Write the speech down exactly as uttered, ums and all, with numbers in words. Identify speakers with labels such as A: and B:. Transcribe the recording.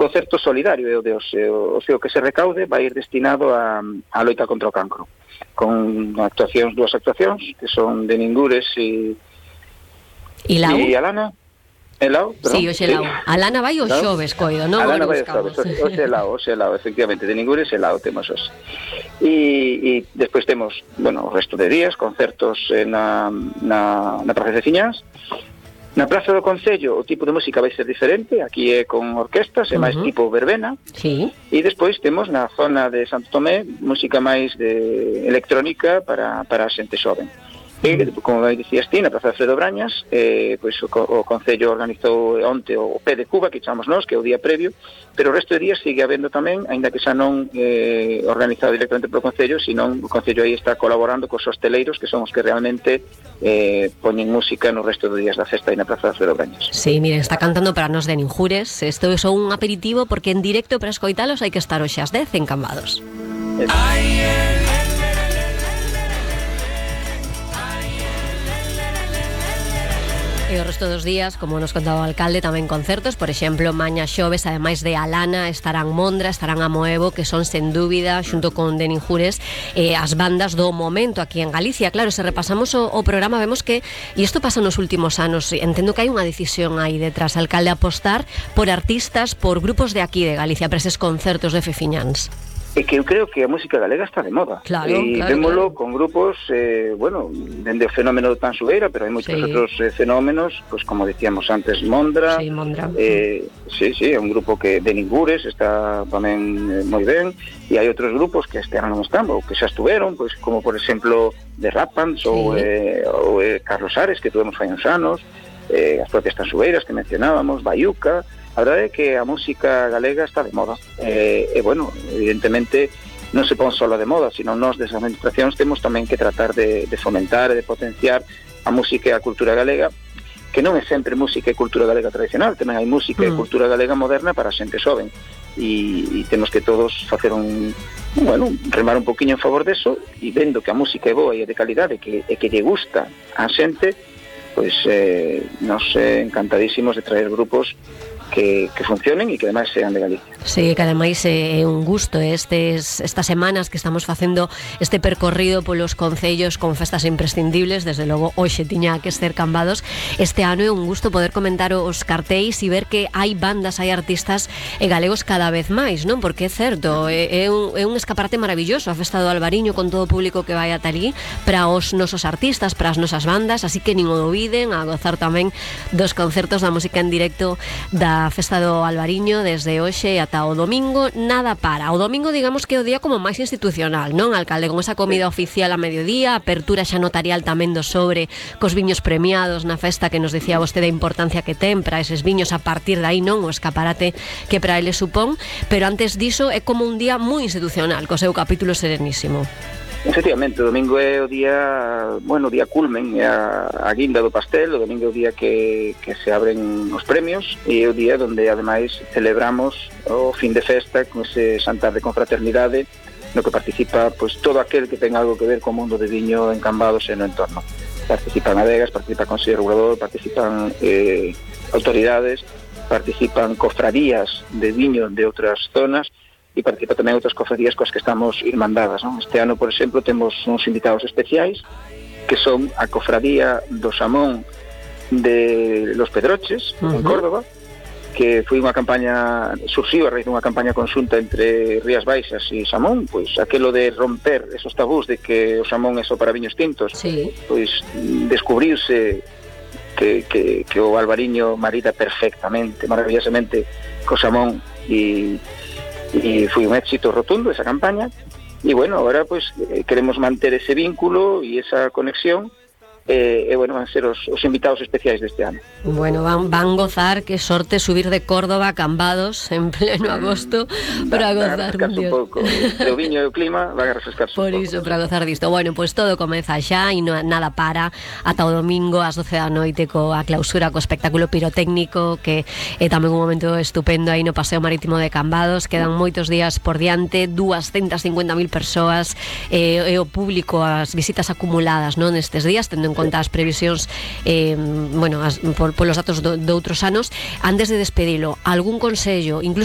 A: concerto solidario, e o, de, o, o que se recaude vai ir destinado a, a loita contra o cancro, con actuacións, dúas actuacións, que son de Ningures e
B: e Lau?
A: E Alana. Elau,
B: sí, o Xelau. Sí. A Lana vai o xoves, coido, non?
A: A Lana vai o xoves, o Xelau, o Xelau, efectivamente, de Ningures e Lau temos os. E, e despois temos, bueno, o resto de días, concertos na, na, na Praza de Ciñás. Na Praza do Concello o tipo de música vai ser diferente, aquí é con orquestas, é máis uh-huh. tipo verbena.
B: Sí.
A: E despois temos na zona de Santo Tomé música máis de electrónica para, para a xente xoven. E, como dicías ti, na Praza de Alfredo Brañas, eh, pois o, o Concello organizou onte o P de Cuba, que chamamos nós, que é o día previo, pero o resto de días sigue habendo tamén, aínda que xa non eh, organizado directamente polo Concello, senón o Concello aí está colaborando cos hosteleiros, que son os que realmente eh, poñen música no resto dos días da festa aí na Praza de Alfredo Brañas.
B: Sí, miren, está cantando para nos de Ninjures, isto é só un aperitivo, porque en directo para escoitalos hai que estar hoxe ás dez en Cambados. Ay, eh. E o resto dos días, como nos contaba o alcalde, tamén concertos, por exemplo, maña xoves, ademais de Alana, estarán Mondra, estarán Amoevo, que son, sen dúbida, xunto con de Ninjures, eh, as bandas do momento aquí en Galicia. Claro, se repasamos o, o programa, vemos que, e isto pasa nos últimos anos, entendo que hai unha decisión aí detrás, alcalde, apostar por artistas, por grupos de aquí de Galicia, para eses concertos de Fefiñáns.
A: É que eu creo que a música galega está de moda.
B: Claro,
A: e
B: claro,
A: vémolo
B: claro.
A: con grupos, eh, bueno, dende o fenómeno do Tansueira, pero hai moitos sí. outros eh, fenómenos, pues como decíamos antes, Mondra.
B: Sí, Mondra.
A: Eh, sí, sí, é un grupo que de Ningures está tamén eh, moi ben, e hai outros grupos que este ano non están, ou que xa estuveron, pues como por exemplo de Rapans, sí. ou, eh, ou eh, Carlos Ares, que tuvemos fai uns anos, eh, as propias Tansueiras que mencionábamos, Bayuca. A verdade é que a música galega está de moda e, e bueno, evidentemente non se pon solo de moda, sino nós desde as administracións temos tamén que tratar de, de fomentar e de potenciar a música e a cultura galega, que non é sempre música e cultura galega tradicional, tamén hai música mm. e cultura galega moderna para a xente xoven, e, e temos que todos facer un, bueno, remar un poquinho en favor deso, e vendo que a música é boa e é de calidade, que, e que lle gusta a xente, pois eh, nos eh, encantadísimos de traer grupos Que, que funcionen e que ademais sean de Galicia.
B: Sí, que ademais é un gusto estes, estas semanas que estamos facendo este percorrido polos concellos con festas imprescindibles, desde logo hoxe tiña que ser Cambados. Este ano é un gusto poder comentar os cartéis e ver que hai bandas, hai artistas e galegos cada vez máis, non? Porque é certo, é, é, un, é un escaparate maravilloso a festa do Albariño con todo o público que vai ata ali para os nosos artistas, para as nosas bandas, así que nin o dubiden, a gozar tamén dos concertos da música en directo da a festa do Albariño desde hoxe ata o domingo, nada para. O domingo, digamos que é o día como máis institucional, non, alcalde? Con esa comida oficial a mediodía, apertura xa notarial tamén do sobre, cos viños premiados na festa que nos decía vostede a importancia que ten para eses viños, a partir de aí, non, o escaparate que para ele supón, pero antes diso é como un día moi institucional, co seu capítulo serenísimo.
A: Efectivamente, o domingo é o día, bueno, o día culmen, é a, a guinda do pastel, o domingo é o día que, que se abren os premios e é o día onde ademais celebramos o fin de festa con ese xantar de confraternidade no que participa pois todo aquel que ten algo que ver co mundo de viño en Cambados e no entorno. Participan adegas, participa o Consello Regulador, participan eh, autoridades, participan cofradías de viño de outras zonas e participa tamén outras cofradías coas que estamos irmandadas, non? Este ano, por exemplo, temos uns invitados especiais que son a cofradía do Xamón de Los Pedroches, uh-huh. en Córdoba, que foi unha campaña, surxiu a raíz dunha campaña conxunta entre Rías Baixas e Xamón, pois aquelo de romper esos tabús de que o Xamón é só para viños tintos,
B: sí.
A: pois descubriuse que, que, que o Albariño marida perfectamente, maravillosamente co Xamón e e foi un éxito rotundo esa campaña e bueno, agora pues queremos manter ese vínculo e esa conexión e, e bueno, van ser os, os invitados especiais deste ano.
B: Bueno, van, van gozar, que sorte subir de Córdoba a Cambados en pleno agosto para
A: va,
B: gozar
A: un, un pouco, o viño e o clima van a refrescarse
B: por
A: un
B: iso,
A: pouco.
B: para gozar disto. Bueno, pois pues todo comeza xa e no, nada para ata o domingo ás doce da noite coa clausura, co espectáculo pirotécnico que é tamén un momento estupendo aí no Paseo Marítimo de Cambados. Quedan moitos días por diante, doscientas cincuenta mil persoas e, e o público, as visitas acumuladas, non, nestes días, tendo en conta as previsións eh, bueno, as, por, polos datos do, de outros anos. Antes de despedilo, algún consello, incluso